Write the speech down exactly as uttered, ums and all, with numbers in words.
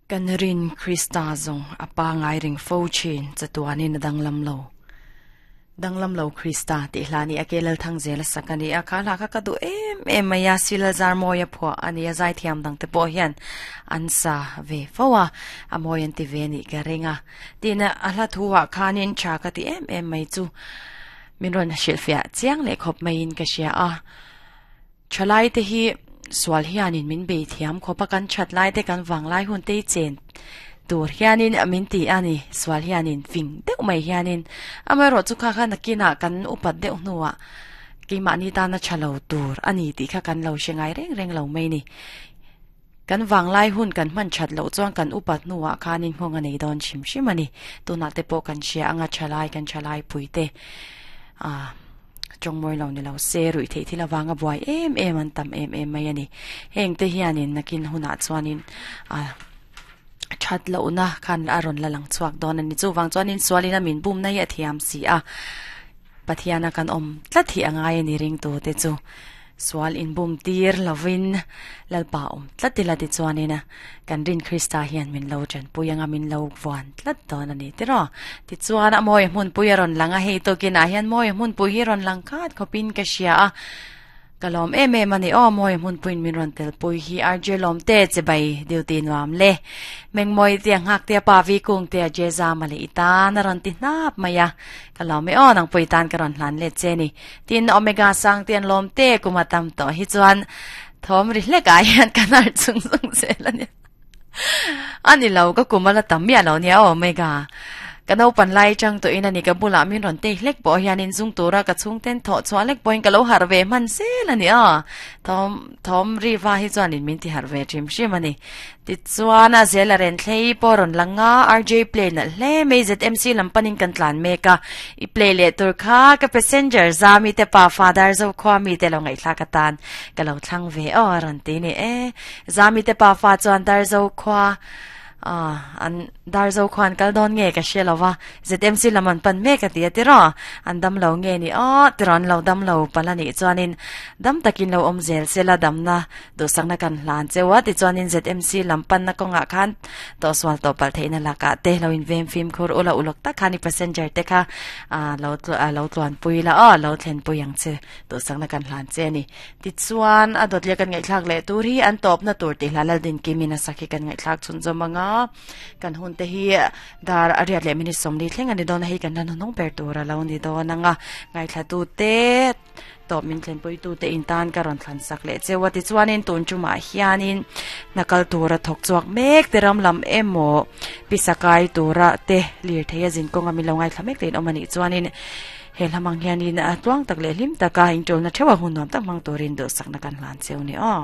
Kan rin Krista zong apa ngai ring fo chin chatuanin danglam lo danglam lo Krista ti hlani akelal thang zela sakani akhala kha ka du em em maya sila zar moya phwa ani a zai thiam dang te po hian ansa ve fowa amoyan ti ve ni ka ringa tina ala thuwa khanin cha ka ti em em mai chu min ron shilfia chiang le khop mai in ka sia a chalai te hi swal hianin min be thiam khopa kan chat lai te kan wang lai hun te chen tur hianin amin ti ani swal hianin fing deuh mai hianin amaro chu kha kha nakina kan upat deuh nuwa keima ni ta na chalo tur ani ti kha kan lo shengai reng reng lo mai ni kan wang lai hun kan man chat lo chuan kan upat nuwa khanin hong ani don chim shim ani tuna te po kan sia anga chalai kan chalai puite a chong moi lo ni lo se rui thei thila wanga buai em em an tam em em mai ani heng te hianin nakin huna chuanin a chat lo na khan aron la lang chuak don ani chu wang chuanin swalina min bum na ya thiam si a pathiana kan om tlathi angai ani ring to te chu swal in bum tir lovin lalpa om tlatila ti chuanina kan rin Krista hian min lo chan puyanga min lo wan tlat don ani tiro ti chuan a moi hmun puyaron langa hei to kina hian moi hmun pui hi ron lang khat khopin ka sia a kalom em em ani o moi hmun puin min ron tel pui hi R J lom te che bai duty nuam le meng moi te ngak te pa vi kung te jeza mali ita na ron ti nap maya kalom e o nang pui tan karon hlan le che ni tin omega sang ten lom te kumatam to hi chuan thom ri hle ka hian kanar chung chung se la ni ani lo ka kumala tam ya lo nia omega kanau pan lai chang to ina ni ka bula min ron te hlek bo hian in zung tura ka chung ten tho chwa lek point ka lo har ve man se la ni a thom thom ri wa hi chuan in min ti har ve thim shim ani ti chuan a zela ren thlei poron langa R J play na hle me Z M C lampanin kan tlan me ka i play le tur kha ka passenger zami te pa father zo khwa mi te lo ngai thla ka tan ka lo thlang ve o ron ti ni e zami te pa fa chuan dar zo khwa ah an darzo khwan kal don nge ka shelawa Z M C laman pan me ka ti atira an dam lo nge ni a tiran lo dam lo palani chuanin dam takin lo om zel sela dam na do sangna kan hlan chewa ti chuanin Z M C lampan na konga khan to swal to pal theina laka te lo in vem phim khur ula ulok ta khani passenger te kha a lo lo tluan puila a lo thlen puyang che do sangna kan hlan che ni ti chuan a dot le kan ngai thlak le tur hi an top na tur ti hlalal din kimina sakhi kan ngai thlak chun zomanga kan hun te hi dar ariat le mini somli thleng ani don hi kan nan nong per tura lo ni don anga ngai thla tu te to min thlen pui tu te in tan ka ron thlan sak le chewa ti chuanin tun chuma hianin nakal tura thok chuak mek te ram lam emo pisakai tura te lir theia jin konga mi lo ngai thla mek ten omani chuanin he lamang hianin a tuang tak le lim taka in tul na thewa hun nom tak mang turin do sakna kan hlan cheu ni o.